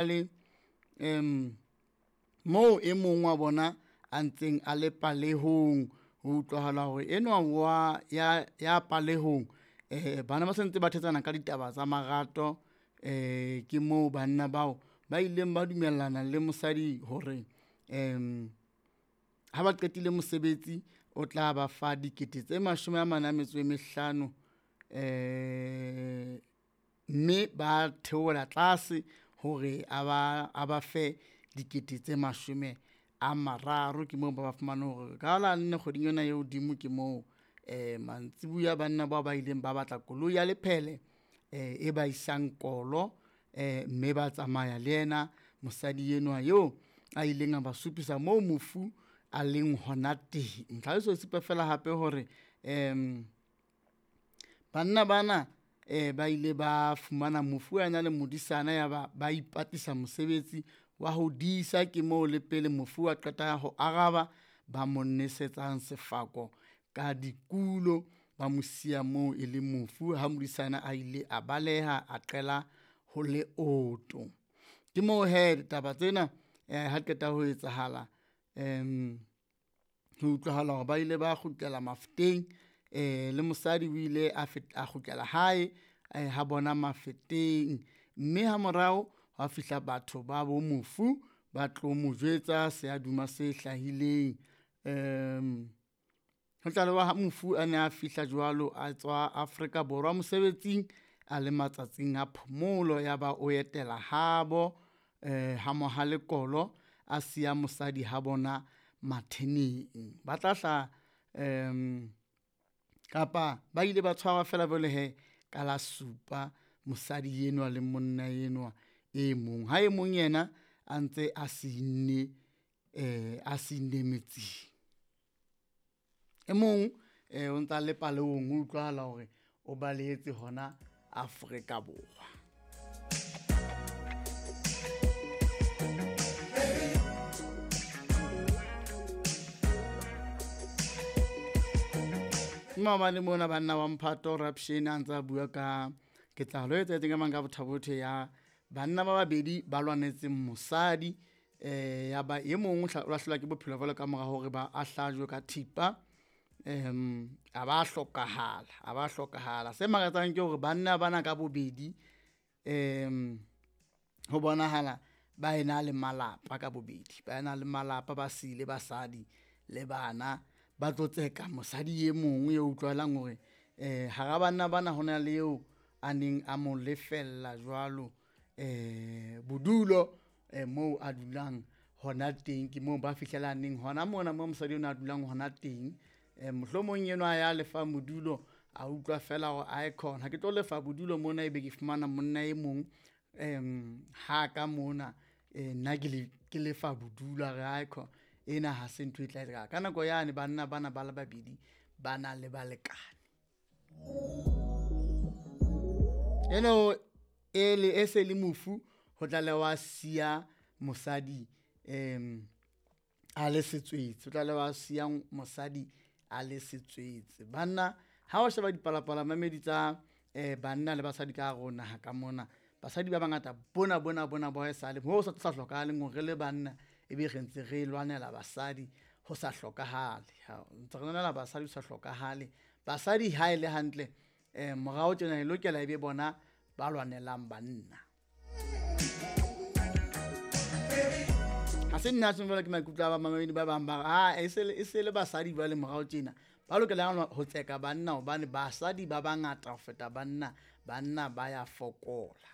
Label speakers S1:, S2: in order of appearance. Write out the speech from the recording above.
S1: Le moo e mong wa bona a ntseng a le palehong, ho utlwahala hore enwa wa ya palehong bana ba sentse ba thetsana ka ditaba tsa marato, ke moo banna bao ba ileng ba dumellana le mosadi hore ha ba qetile mosebetsi o tla ba fa dikete tse mashome a mane a metso e mehlano mme ba theohela tlase hore a ba fe dikete tse mashome a mararo. Ke moo ba ba fumane hore ka la nne kgweding ena e hodimo ke moo mantsibuya banna bao ba ileng ba batla koloi ya lephele e ba isang kolo, mme ba tsamaya le yena mosadi enwa eo a ileng a ba supisa moo mofu a leng hona teng. Tlhaloso e supa fela hape hore banna bana ba ile ba fumana mofu a na le modisana ya ba ba ipatlisa mosebetsi wa ho disa, ke moo le pele mofu a qeta ho araba ba mo nesetsang sefako ka dikulo, ba mo siya moo e le mofu ha modisana a ile a baleha a qela ho leoto. Ke moo hee ditaba tsena ha qeta ho etsahala ho utlwahala hore ba ile ba kgutlela Mafeteng le mosadi o ile a kgutlela hae ha bona Mafeteng, mme ha morao hwa fihla batho ba bo mofu ba tlo mo jwetsa seaduma se hlahileng. Ho tlalewa ha mofu a ne a fihla jwalo a tswa Afrika Borwa mosebetsing a le matsatsing a phomolo, ya ba o etela habo ha Mohale Kolo a siya mosadi ha bona Matheneng. Ba tla hla kapa ba ile ba tshwarwa fela jwale hee ka la supa mosadi enwa le monna enwa e mong, ha e mong yena a ntse a sinne a sinne metsing. E mong o ntsa le palehong ho utlwahala hore o balehetse hona Afrika Borwa. Maobane mona banna wa mphato Rapshane a ntsa bua ka ketsahalo e etsahetseng ka mang ka Botha-Bothe ya banna ba babedi ba lwanetseng mosadi, ya ba e mong o lahlehelwa ke bophelo jwalo ka mora hore ba a hlajwe ka thipa, a ba hlokahala, a ba hlokahala. Se makatsang ke hore banna bana ka bobedi ho bonahala ba ena le malapa ka bobedi, ba ena le malapa, ba sile basadi le bana ba tlo tseka mosadi e mong e utlwahalang hore hara banna bana hona le eo a neng a mo lefella jwalo bodulo moo a dulang hona teng, ke moo ba fihlelaneng hona mona moo mosadi enwa a dulang hona teng. Mohlomong enwa ya lefang bodulo a utlwa fela hore aekhona ha ke tlo lefa bodulo mona, ebe ke fumana monna e mong ha ka mona nna ke lefa bodulo a re aekhona ena ha se ntho e tla etsahala. Ka nako yane banna bana ba le babedi ba na le balekane. Eno e se le mofu ho tlalewa siya mosadi a le setswetse, o tlalewa siya mosadi a le setswetse. Banna ha o sheba dipalopalo mamedi tsa banna le basadi ka hare ho naha ka mona, basadi ba bangata bona bona bona ba haesale ho sa hlokahaleng hore re le banna ebe re ntse re lwanela basadi ho sa hlokahale, ntse re lwanela basadi ho sa hlokahale. Basadi ha e le hantle morao tjena e lokela ebe bona ba lwanelang banna. Ha se nna tjho jwalo, ke maikutlo a bamamedi ba bang ba re, ah, e se le basadi jwale morao tjena ba lokelang ho tseka banna hobane basadi ba bangata ho feta banna, banna ba ya fokola.